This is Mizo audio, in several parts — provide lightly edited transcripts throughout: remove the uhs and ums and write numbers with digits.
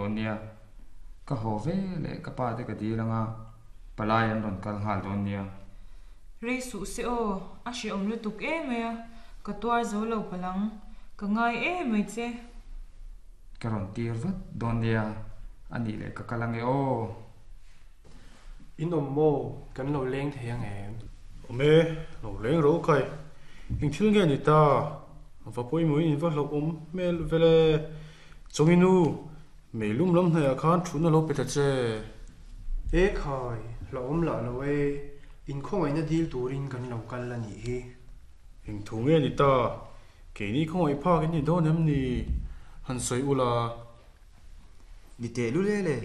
dawn nia. Ka haw ve leh ka pa te ka dil anga palai an rawn kal nghal dawn nia. Rei suh se aw, a hrehawm lutuk emai a, ka tuar zo lo palh ang, ka ngai emai che. Ka rawn tir vat dawn nia, a nih leh ka kal ange aw. In awm maw? Kan lo leng thei ang em? Awm e, lo leng ro kai. Eng thil nge ni ta? Va pawimawhin in va hlauhawm hmel vel e. Chawngin u, meilum lam hnaihah khan thutna lo pe ta che. E khai, hlauhawm lah lo e, inkhawngaihna dil turin kan lo kal a nih hi. Eng thu nge ni ta? Keini khawngaih phak in ni dawn em ni? Han sawi ula. Ni teh lul e le,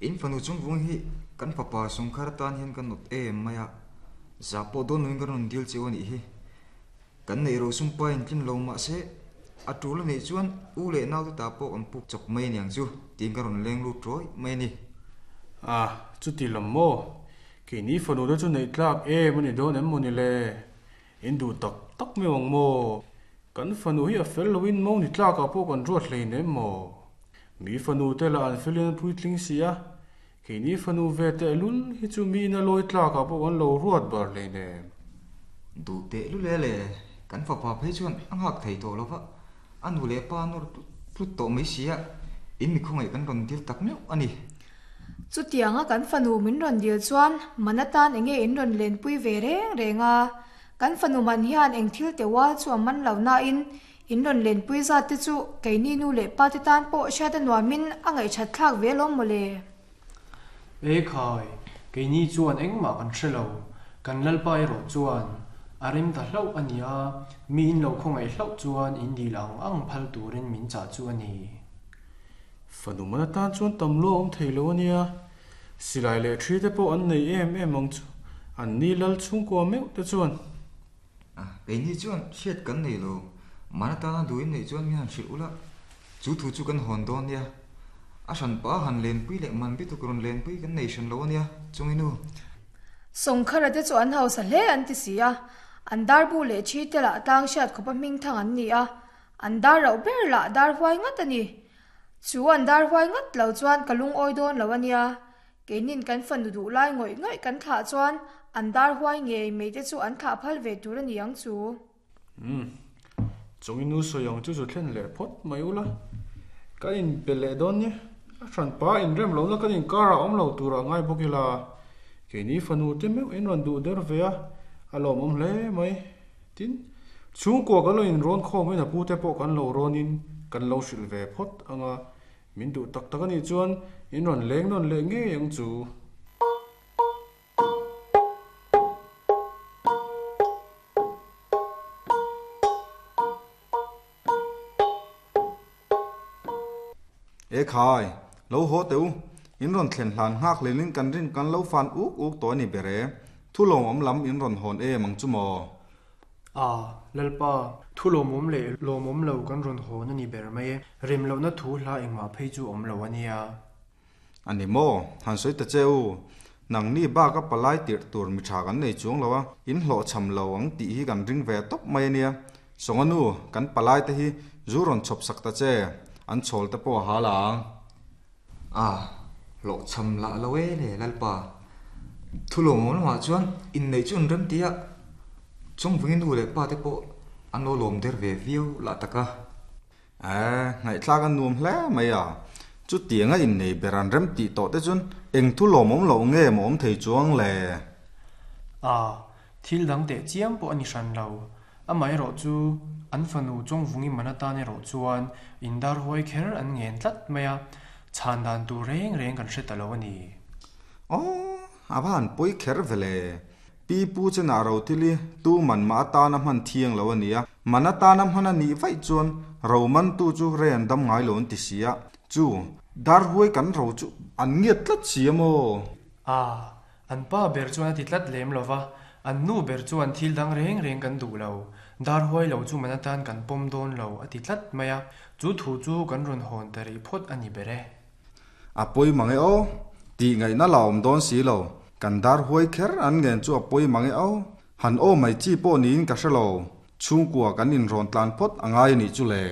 in fanu chungvung hi kan fapa Sawngkhar atan hian ka nawt em mai a, zah pawh dawn loin ka rawn dil cheu a nih hi. Kan neih ro sum pa in tlin lo mah se, a tul a neih chuan u leh naute ta pawh kan puk chawp mai aniang chu tiin ka rawn leng lut rawih mai a ni. A, chuti lam maw? Keini fanu te chu neih tlak em a ni dawn em maw ni le? In duh tak tak mai ang maw? Kan fanu hi a fel loin mo ni tlakah pawh kan ruat hlein em maw? Mi fanu te lah an felin an puitling si a, keini fanu ve teh lul hi chu mi ina lawi tlakah pawh kan lo ruat bar hlein em? Duh teh lul e le, kan fapa phei chuan a nghak thei tawh lo va, a nu leh pa nawr tlut tlut tawh mai si a, in mi khawngaih kan rawn dil tak meuh a ni. Chutianga kan fanu min rawn dil chuan man atan enge in rawn lenpui ve reng reng a, kan fanu man hian eng thil teh ual chu a man lo nain in rawn lenpui zat te chu keini nu leh pa te tan pawh hriat a nuamin a ngaihthat thlak ve alawm mawle. E khai, keini chuan engmah kan hre lo, kan Lalpa erawh chuan a rem ta hlauh a nia, mi in lo khawngaih hlauh chuan in dil ang ang phal turin min chah chu a ni. Fanu man atan chuan tam lua awm thei lo a nia, silai leh thi te pawh an nei em em ang chu, an ni lal chhungkua meuh te chuan. A, keini chuan hriat kan nei lo, man atana duhin neih chuan min han hrilh ula, chu thu chu kan hawn dawn nia. A hran pah a han lenpui leh man bituk rawn lenpui kan nei hran lo a nia, chungi nu. Sawngkhara te chu an hausa hle an ti si a, an darbu leh thi te lah tlang hriat khawpa hming thang an ni a, An dar rauh ber lah dar huai ngat a ni. Chu an dar huai ngat lo chuan ka lungawi dawn lo a nia. Keinin kan fanu duh lai ngawih ngawih kan thlah chuan an dar huai ngei mai te chu an thlah phal ve tur a ni ang chu. Umm. Chawngin nu sawi ang chu chu thlen leh phawt mai ula. Kan inpe leh dawn nia. A hranpa inrem lohna kan inkarah awm lo turah ngai bawk ila. Keini fanu te meuh in rawn duh der ve a, a lawmawm hle mai. Tin, chhungkua kan lo inrawn khawmin a pute pawh kan lo rawnin kan lo hrilh ve phawt ang a, min duh tak tak a nih chuan in rawn leng nawn leh ngei ang chu. E khai, lo haw teh u, in rawn thlen hlan nghak hlelin kan rin kan lo fan uk uk tawh a ni ber e, thu lawmawm lam in rawn hawn em ang chu maw? A, Lalpa, thu lawmawm leh lawmawm lo kan rawn hawn a ni ber mai e, rem lohna thu hla engmah phei chu awm lo a nia. A ni maw? Han sawi ta che u, nangni bak a palai tirh tur mi tha kan nei chuang lo a, in hlawhchham lo ang tih hi kan ring ve tawp mai a nia. Sawnga nu, kan palai te hi zu rawn chhawp sak ta che, an chhawl te pawh a hal ang. A, hlawhchham lah lo e le Lalpa. Thu lawmawm lamah chuan inneih chu an rem ti a, Chawngvungi nu leh pa te pawh an lo lawm der ve viau lah tak a. Eeh, ngaihthlak a nuam hle mai a. Chutianga innei ber an rem tih tawh te chuan eng thu lawmawm loh nge maw awm thei chuang le? A, thil dang teh chiam pawh a ni hran lo. Amaherawh chu an fanu Chawngvungi man atan erawh chuan indar huai kher an ngen tlat mai a, chhan dan tur reng reng kan hre ta lo a ni. Aw, a va han pawi kher ve le. Pi pu chenah ro thil hi tu man mah atana hman thiang lo a ni a, man atana hman a nih vaih chuan ro mantu chu rei an dam ngai lo an ti si a, chu dar huai kan ro chu an ngiat tlat si a maw? A, an pa ber chuan a ti tlat lem lo va, an nu ber chuan thil dang reng reng kan duh lo, dar huai lo chu man atan kan pawm dawn lo a ti tlat mai a, chu thu chu kan rawn hawn ta rih phawt a ni ber e. A pawi mang e aw, tih ngaihna la awm dawn si lo, kan dar huai kher an ngen chu a pawi mang e aw, han aw mai chi pawh niin ka hre lo, chhungkua kan inrawn tlan phawt a ngai a nih chu le.